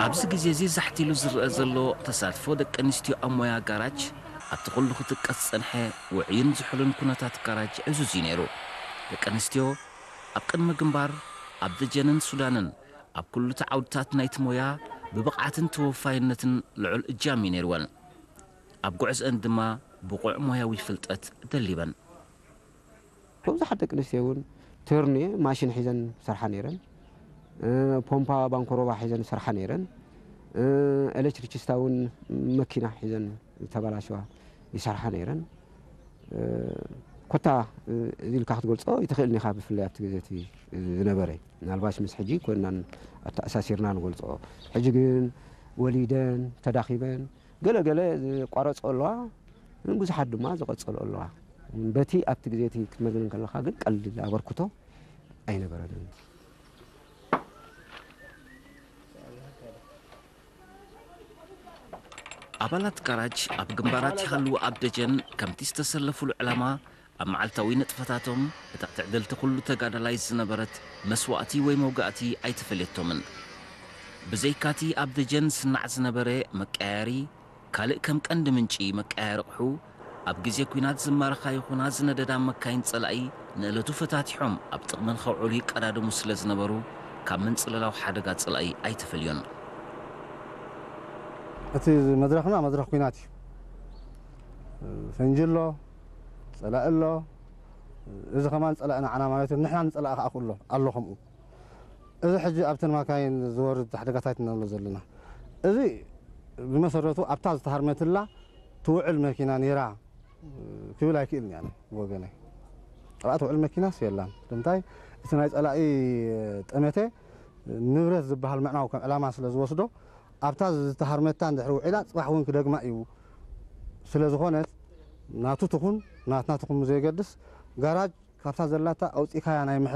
ኣብዚ ግዜ እዚ ዛሕት ኢሉ ዝረአ ዘሎ ተሳትፎ ደቂ ኣንስትዮ ኣብ ሞያ ጋራጅ ኣብቲ ኩሉ ክጥቀስ ዝጸንሐ ውዑይን ዝሑልን ኩነታት ጋራጅ ዕዙዝ እዩ ነይሩ። ደቂ ኣንስትዮ ኣብ ቅድሚ ግንባር ኣብ ደጀንን ሱዳንን ኣብ ኩሉቲ ዓውድታት ናይቲ ሞያ ብብቕዓትን ተወፋይነትን ልዑል እጃም እዩ ነይርወን። ኣብ ጉዕዝአን ድማ ብቑዕ ሞያዊ ፍልጠት ደሊበን። ብዙሓት ደቂ ኣንስትዮ እውን ቴርኔ ማሽን ሒዘን ሰርሓ ነይረን። እ፣ ፖምፓ ባንኮሮባ ሒዘን ሰርሓ ነይረን። እ፣ ኤሌክትሪክስታ እውን መኪና ሒዘን ዝተበላሸዋ ይሰርሓ ነይረን። እ፣ ኮታ፣ እ፣ እዚ ኢልካ ክትገልጾ ይትኽእል ኢኻ፣ ብፍላይ ኣብቲ ግዜ እቲ ዝነበረ። ምናልባሽ ምስ ሕጂ ኮይንናን ኣተኣሳሲርና ንገልጾ። ሕጂ ግን ወሊደን፣ ተዳኺበን፣ ገለ ገለ ዝቋረጾ ኣለዋ፣ ግን ብዙሓት ድማ ዝቐጸሉ ኣለዋ። በቲ ኣብቲ ግዜ እቲ ክትመዝን ከለኻ ግን ቀሊል ኣበርክቶ ኣይነበረንን። ኣባላት ጋራጅ ኣብ ግንባራት ይሃልዉ ኣብ ደጀን ከምቲ ዝተሰለፉሉ ዕላማ ኣብ መዓልታዊ ንጥፈታቶም እታ ትዕድልቲ ኩሉ ተጋዳላይ ዝነበረት መስዋእቲ ወይ መውጋእቲ ኣይተፈልየቶምን። ብዘይካቲ ኣብ ደጀን ዝስናዕ ዝነበረ መቀያየሪ፣ ካልእ ከም ቀንዲ ምንጪ መቀያየሪ ኣቕሑ፣ ኣብ ግዜ ኲናት ዝማረኻ ይኹና ዝነደዳ መካይን ጸላኢ ንእለቱ ፈታቲሖም ኣብ ጥቕመን ከውዕሉ ይቀዳደሙ ስለ ዝነበሩ፣ ካብ መንጽለላዊ ሓደጋ ጸላኢ ኣይተፈልዮን። እቲ መድረኽና መድረኽ ኲናት እዩ። ፈንጂ ኣሎ፣ ጸላኢ ኣሎ። እዚ ከማን ጸላኢ ንዓና ማለት እዩ። ንሕና ንጸላኢ ከኣ ክእሎ ኣሎ ከምኡ። እዚ ሕጂ ኣብተን መካይን ዝወርድ ሓደጋታት ኢና ንብሎ ዘለና። እዚ ብመሰረቱ ኣብታ ዝተሃርመትላ ትውዕል መኪና ነይራ ክብል ኣይክእልን እየ ኣነ ብወገነይ። ኣብኣ ትውዕል መኪናስ የላን። ስለምንታይ? እቲ ናይ ጸላኢ ጠመተ ንብረት ዝበሃል ምዕናው ከም ዕላማ ስለ ዝወስዶ፣ ኣብታ ዝተሃርመታ እንድሕሪ ውዒላ፣ ጽባሕ እውን ክደግማ እዩ። ስለ ዝኾነት፣ ናቱ ትኹን ናትና ትኹን ብዘየገድስ፣ ጋራጅ ካብታ ዘላታ ኣውጺእካያ ናይ ምሕዳግ